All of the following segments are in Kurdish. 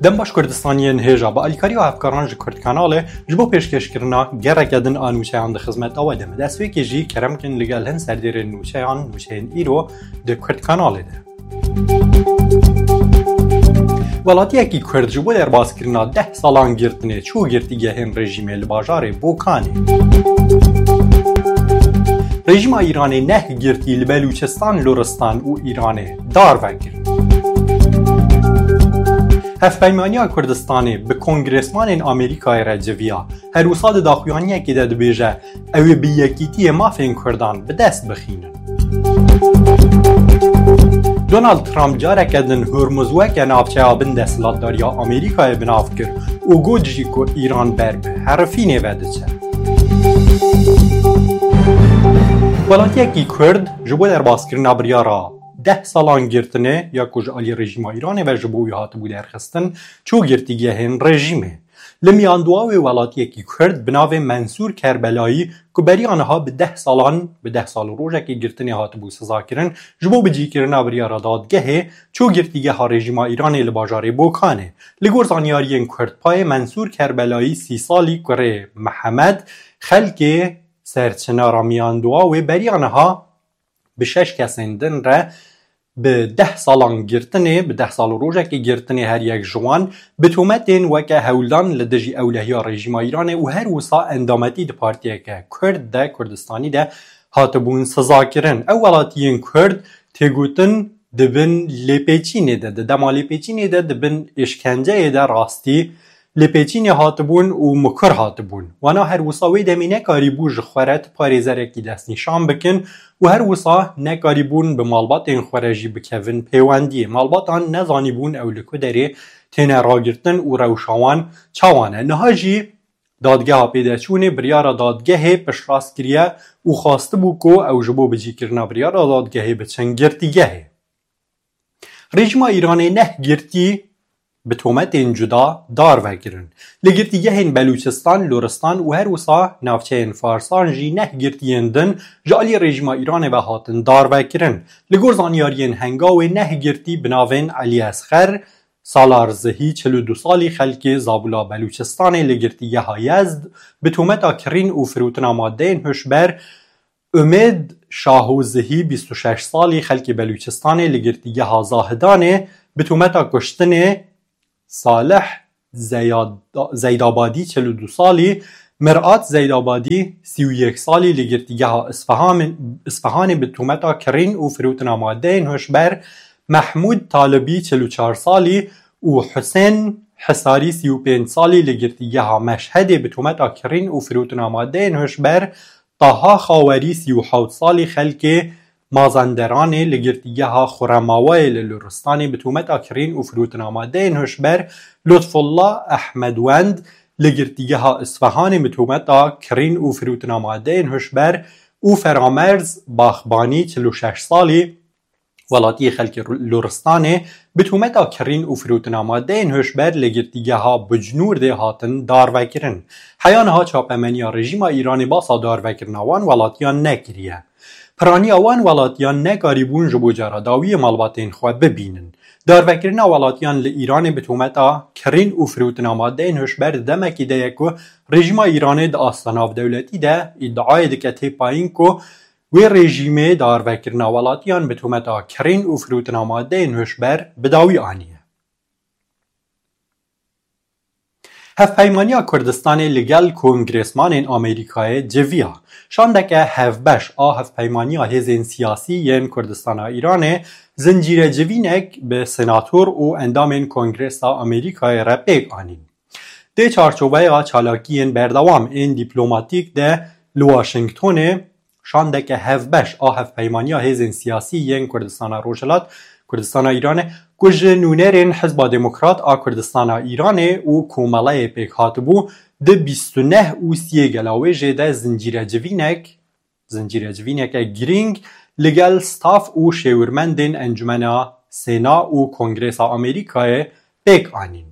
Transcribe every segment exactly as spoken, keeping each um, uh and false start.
Dem baş Kurdistaniyên hêja, bi alîkariya hevkaran ji Kurd Kanalê ji bo pêşkêşkirina gereke din a nûçeyan di xizmeta we de me. Destpêkê jî kerem kin li gel hin serdêrên nûçeyan, nûçeyên îro di Kurd Kanalê de. Welatiyekî Kurd ji bo derbaskirina deh salan girtinê çû girtîgehên rejîmê li bajarê Bokanê. Rejîma Îranê neh girtî li Belûçistan, Loristan û Îranê darve kir. Hevpeymaniya Kurdistanê bi kongresmanên Amerîkayê re civiya. Her wisa di daxuyaniyekê de dibêje, ew ê bi yekîtiyê mafên Kurdan bi dest bixînin. Donald Trump careke din Hormuz weke navçeya bin desthilatdariya Amerîkayê bi nav kir û got jî ku Îran ber bi herifînê ve diçe. Welatiyekî Kurd ji bo derbaskirina biryara deh salan girtinê ya ku ji alî rejîma Îranê ve ji bo wî hatibû derxistin, çû girtîgehên rejîmê. Li Miyanduawê welatiyekî Kurd bi navê Mensûr Kerbelayî ku beriya niha bi deh salan, bi deh sal û rojekê girtinê hatibû sizakirin, ji bo bicîkirina biryara dadgehê çû girtîgeha rejîma Îranê li bajarê Bokanê. Li gor zanyariyên Kurdpayê, Mensûr Kerbelayî sî salî kurê Mihemed Xelkê ser çinara Miyanduawê beriya niha bi şeş kesên din re bi deh salan girtinê, bi deh sal û rojekê girtinê her yek ji wan bi tometên weke hewldan li dijî ewlehiya rejîma Îranê û her wisa endametî di partiyeke Kurd de, Kurdistanî de hatibûn sizakirin. Ew welatiyên Kurd têgotin di bin lêpêçînê de, di dema lêpêçînê de, di bin êşkenceyê de rastî lêpêçînê hatibûn û mikur hatibûn. Wana her wisa wê demê nekarîbû ji xwe re ti parêzerekî destnîşan bikin û her wisa nekarîbûn bi malbatên xwe re jî bikevin pêwendiyê. Malbatan nezanîbûn ew li ku derê têne ragirtin û rewşa wan çawa ne. Niha jî dadgeha pêdeçûnê biryara dadgehê piştrast kiriye û xwestibû ku ew ji bo bicîkirina biryara dadgehê biçin girtîgehê. Rejîma Îranê neh girtî bi tometên cuda darve kirin. Li girtîgehên Belûçistan, Loristan û her wisa navçeyên Farsan jî neh girtiyên din ji alî rejîma Îranê ve hatin darve kirin. Li gor zanyariyên Hengawê neh girtî bi navên Elî Esxer, Salar Zihî, çil û du salî, xelkê Zabula Belûçistanê li girtîgeha Yezd bi tometa kirîn û firotina madeyên hişber, Umêd Şaho Zihî, bîst û şeş salî, xelkê Belûçistanê li girtîgeha Zahidanê bi tometa kuştinê, Salih Zeyad-, Zeydabadî, çil û du salî, Mirat Zeydabadî, sî û yek salî, li girtîgeha Isfahan-, Isfahanê bi tometa kirîn û firotina madeyên hişber, Mehmûd Talibî, çil û çar salî, û Husên Hisarî, sî û pênc salî, li girtîgeha Meşhedê bi tometa kirîn û firotina madeyên hişber, Taha Xawerî, sî û hewt salî, xelkê Mazanderanê li girtîgeha Xuremawayê li Luristanê bi tometa kirîn û firotina madeyên hişber, Lutfullah Ehmedwend, li girtîgeha Isfahanê bi tometa kirîn û firotina madeyên hişber, û Feramerz Baxbanî, çil û şeş salî, welatiyê xelkê Luristanê, bi tometa kirîn û firotina madeyên hişber li girtîgeha Bucnûrdê hatin darvekirin. Heya niha çapemeniya rejîma Îranê basa darvekirina wan welatiyan nekiriye. Piraniya wan welatiyan nekarîbûn ji bo cara dawiyê malbatên xwe bibînin. Darvekirina welatiyan li Îranê bi tometa kirîn û firotina madeyên hişber di demekî de ye ku rejîma Îranê di asta navdewletî de îdiayê dike tê payîn ku wê rejîmê darvekirina welatiyan bi tometa kirîn û firotina madeyên hişber bi dawî aniye. Hevpeymaniya Kurdistanê li gel kongresmanên Amerîkayê civiya. Şandeke hevbeş a Hevpeymaniya Hêzên Siyasî yên Kurdistana Îranê zincîre civînek bi senator û endamên Kongresa Amerîkayê re pêk anîn. Di çarçoveya çalakiyên berdewam ên dîplomatîk de li Washingtonê, şandeke hevbeş a Hevpeymaniya Hêzên Siyasî yên Kurdistana Rojhilat, Kurdistana Îranê, ku ji nûnerên Hizba Demokrat a Kurdistana Îranê û Komeleyê pêk hatibû, di bîst û neh û siyê Gelawêjê de zincîre civînek, zincîre civîneke girîng li gel staf û şêwirmendên Encumena Sêna û Kongresa Amerîkayê pêk anîn.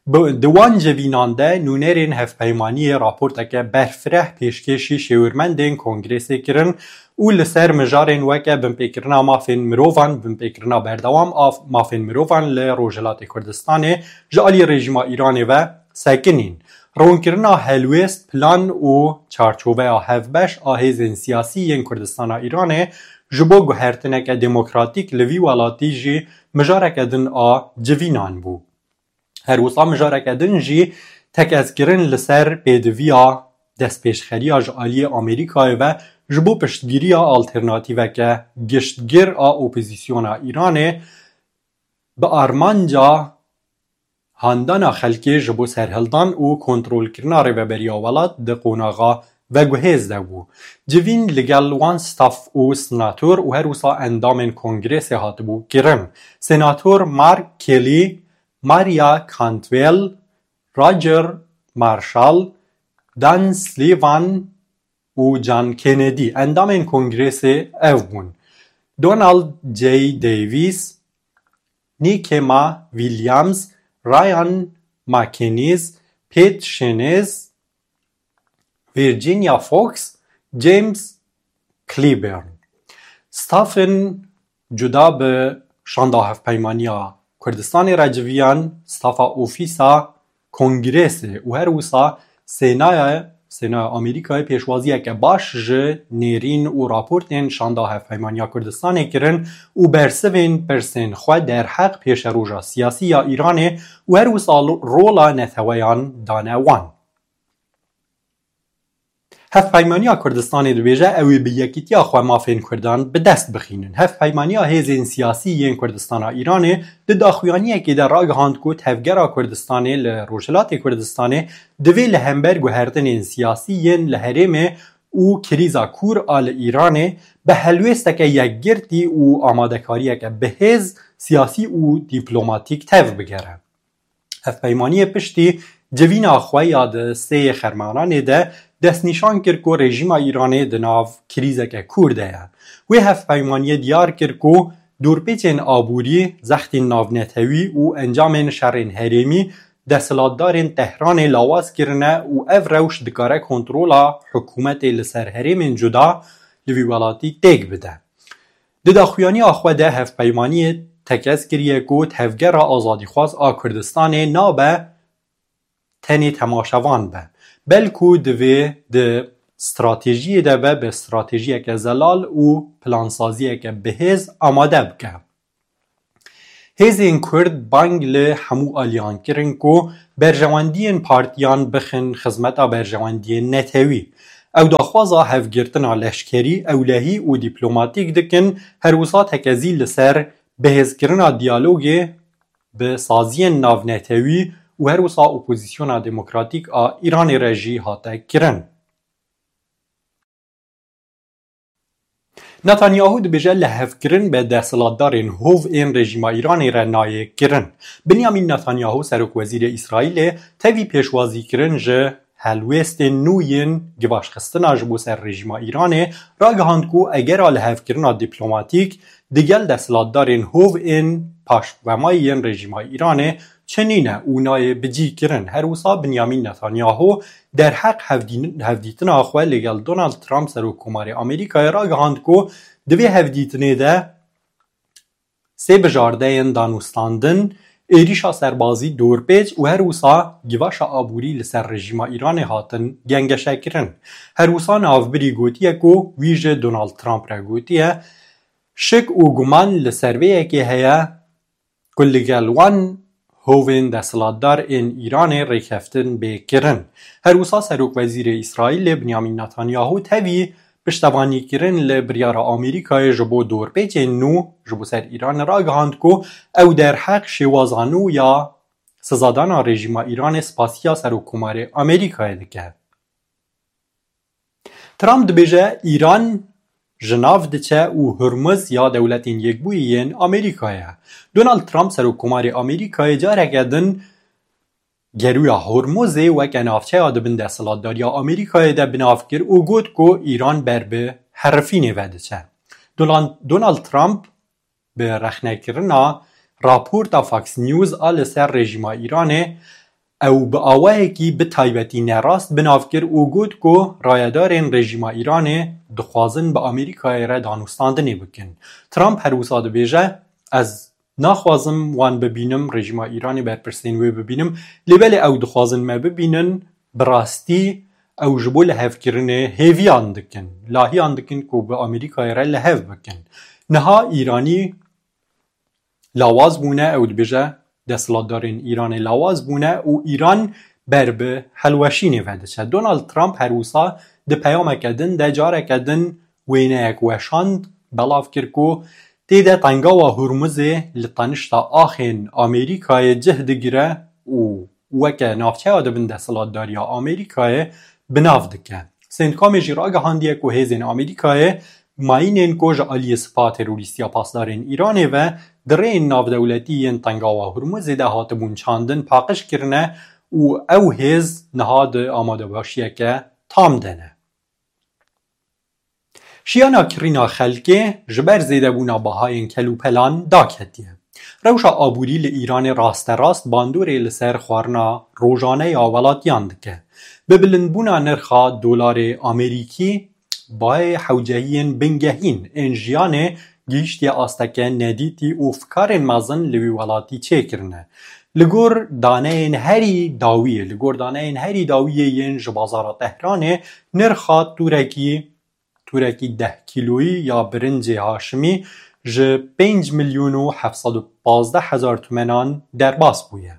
Bi, di wan civînan de nûnerên hevpeymaniyê raporteke berfireh pêşkêşî şêwirmendên Kongresê kirin û li ser mijarên weke binpêkirina mafên mirovan, binpêkirina berdewam a mafên mirovan li Rojhilatê Kurdistanê ji alî rejîma Îranê ve sekinîn. Ronkirina helwêst, plan û çarçoveya hevbeş a hêzên siyasî yên Kurdistana Îranê ji bo guhertineke demokratîk li vî welatî jî mijareke din a civînan bû. Her wisa mijareke din jî tekezkirin li ser pêdiviya destpêşxeriya ji aliyê Amerîkayê ve ji bo piştgiriya alternatîveke giştgir a opozîsyona Îranê bi armanca handana xelkê ji bo serhildan û kontrolkirina rêveberiya welat di qonaxa veguhêz de bû. Civîn li gel wan staf û senator û her wisa endamên kongresê hatibû kirin. Senator Mark Kelly, Maria Cantwell, Roger Marshall, Dan Sullivan û John Kennedy endamên kongresê ev bûn: Donald J. Davis, Nikema Williams, Ryan McInnes, Pete Shenez, Virginia Fox, James Clyburn. Stafên cuda bi Şanda Hevpeymaniya Kurdistanê re civiyan, stafa ofîsa Kongresê û her wisa Sênaya, Sênaya Amerîkayê pêşwaziyeke baş ji nêrîn û raportên Şanda Hevpeymaniya Kurdistanê kirin û bersivên pirsên xwe derheq pêşeroja siyasî ya Îranê û her wisa rola neteweyan dane wan. Hevpeymaniya Kurdistanê dibêje, ew ê bi yekîtiya xwe mafên Kurdan bi dest bixînin. Hevpeymaniya Hêzên Siyasî yên Kurdistana Îranê di daxuyaniyekê de ragihand ku Tevgera Kurdistanê li Rojhilatê Kurdistanê divê li hember guhertinên siyasî yên li herêmê û krîza kûr a li Îranê bi helwêsteke yekgirtî û amadekariyeke bihêz siyasî û dîplomatîk tev bigere. Hevpeymaniyê piştî civîna xwe ya di sê Xermananê de destnîşan kir ku rejîma Îranê di nav krîzeke kûr de ye. Wê hevpeymaniyê diyar kir ku dorpêçên aborî, zextên navnetewî û encamên şerên herêmî desthilatdarên Tehranê lawaz kirine û ev rewş dikare kontrola hikûmetê li ser herêmên cuda li vî welatî têk bide. Di daxuyaniya xwe de hevpeymaniyê tekez kiriye ku Tevgera Azadîxwaz a Kurdistanê nabe tenê temaşevan be, belku divê di stratejiyê de be, bi stratejiyeke zelal û plansaziyeke bihêz amade bike. Hêzên Kurd bang li hemû aliyan kirin ku berjewendiyên partiyan bixin xizmeta berjewendiyên netewî. Ew daxwaza hevgirtina leşkerî, ewlehî û dîplomatîk dikin, her wisa tekezî li ser bihêzkirina diyalogê bi saziyên navnetewî û her wisa opozîsyona demokratîk a Îranê re jî hate kirin. Netanyahu dibêje lihevkirin bi desthilatdarên hov ên rejîma Îranê re nayê kirin. Binyamîn Netanyahu, serokwezîrê Îsraîlê, tevî pêşwazîkirin ji helwêstên nû yên givaşxistina ji bo ser rejîma Îranê, ragihand ku egera lihevkirina dîplomatîk digel desthilatdarên hov ên paşvemayî yên rejîma Îranê çi nîne û nayê bicîkirin. Her wisa Binyamîn Netanyahu derheq hevdîn-, hevdîtina xwe li gel Donald Trump, Serokkomarê Amerîkayê, ragihand ku di vê hevdîtinê de sê bijardeyên danûstandin, êrîşa serbazî, dorpêç û her wisa givaşa aborî li ser rejîma Îranê hatin gengeşekirin. Her wisa navbirî gotiye ku wî ji Donald Trump re gotiye, şik û guman li ser vê yekê heye ku li gel wan hovên desthilatdar ên Îranê rêkeftin bê kirin. Her wisa Serokwezîrê Îsraîlê Binyamîn Netanyahu tevî piştevanîkirin li biryara Amerîkayê ji bo dorpêçên nû ji bo ser Îranê ragihand ku ew derheq şêwaza nû ya sizadana rejîma Îranê spasiya Serokkomarê Amerîkayê dike. Trump dibêje Îran ji nav diçe û Hurmuz ya Dewletên Yekbûyî yên Amerîkayê ye. Donald Trump, Serokkomarê Amerîkayê, careke din Gerûya Hormuzê weke navçeya di bin desthilatdariya Amerîkayê de bi nav kir û got ku Îran ber bi herifînê ve diçe. Dolan-, Donald Trump bi rexnekirina raporta Fox News a li ser rejîma Îranê ew bi awayekî bi taybetî nerast bi nav kir û got ku rayedarên rejîma Îranê dixwazin bi Amerîkayê re danûstandinê bikin. Trump her wisa dibêje, ez naxwazim wan bibînim, rejîma Îranê berpirsên wê bibînim, lê belê ew dixwazin me bibînin, bi rastî ew ji bo lihevkirinê hêviyan dikin, lahiyan dikin ku bi Amerîkayê re lihev bikin. Niha Îranî lawaz bûne, ew dibêje desthilatdarên Îranê lawaz bûne û Îran ber bi helweşînê ve diçe. Donald Trump her wisa di peyameke din de careke din wêneyek weşand, belav kir ku tê de Tengawa Hurmuzê li tenişta axên Amerîkayê cih digire û weke navçeya di bin desthilatdariya Amerîkayê bi nav dike. Centcomê jî ragihandiye ku hêzên Amerîkayê mayînên ku ji aliyê sipa terorîstiya pasdarên Îranê ve di rêyên navdewletî yên Tengawa Hurmuzê de hatibûn çandin paqij kirine û ew hêz niha di amadebaşiyeke tam de ne. Şiyana kirîna xelkê ji ber zêdebûna bahayên kelûpelan daketiye. Rewşa aborî li Îranê rasterast bandorê li ser xwarina rojane ya welatiyan dike. Bi bilindbûna nirxa dolarê Amerîkî, bayê hewcehiyên bingehîn ên jiyanê gihîştiye asteke nedîtî û fikarên mezin li wî welatî çêkirine. Li gor daneyên herî dawiyê, li gor daneyên herî dawiyê yên ji bazara Tehranê, nirxa tûrekî, tûrekî deh kîloyî ya birincê haşimî ji pênc milyon û heft sed û pazdeh hezar tumenan derbas bûye.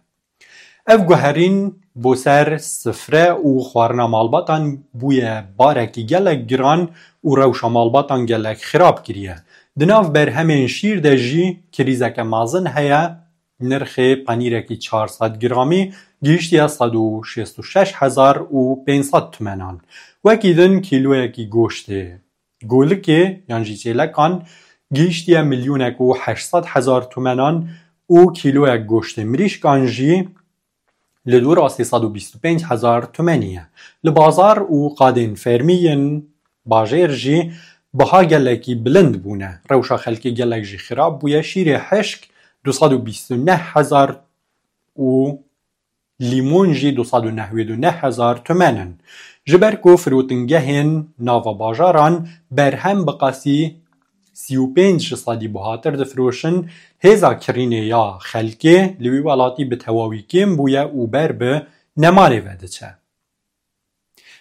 Ev guherîn bo ser sifre û xwarina malbatan bûye barekî gelek giran û rewşa malbatan gelek xirab kiriye. Di nav berhemên şîr de jî krîzeke mezin heye, nirxê penîrekî çar sed gramî gihîştiye sed û şêst û şeş hezar û pênc sed tumenan. Wekî din kîloyekî goştê golikê yan jî çêlekan gihîştiye milyonek û heşt sed hezar tumenan û kîloyek goştê mirîşkan jî li dora sê sed û bîst û pênc hezar tumenî ye. Li bazar û qadên fermî yên bajêr jî biha gelekî bilind bûne. Rewşa xelkê gelek jî xirab bûye. Şîrê hişk du sed û bîst û neh hezar û lîmon jî du sed û newêd û neh hezar tumen in. Ji ber ku firotingehên nava bajaran berhem bi qasî sî û pênc ji sedî buhatir difiroşin, hêza kirînê ya xelkê li wî welatî bi tewawî kêm bûye û ber bi nemarê ve diçe.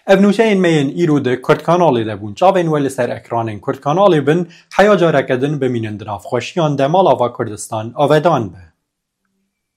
Ev nûçeyên me yên îro di Kurd Kanalê de bûn. Çavên we li ser ekranên Kurd Kanalê bin, heya careke din bimînin di nav xweşiyan de. Mala va Kurdistan avedan be.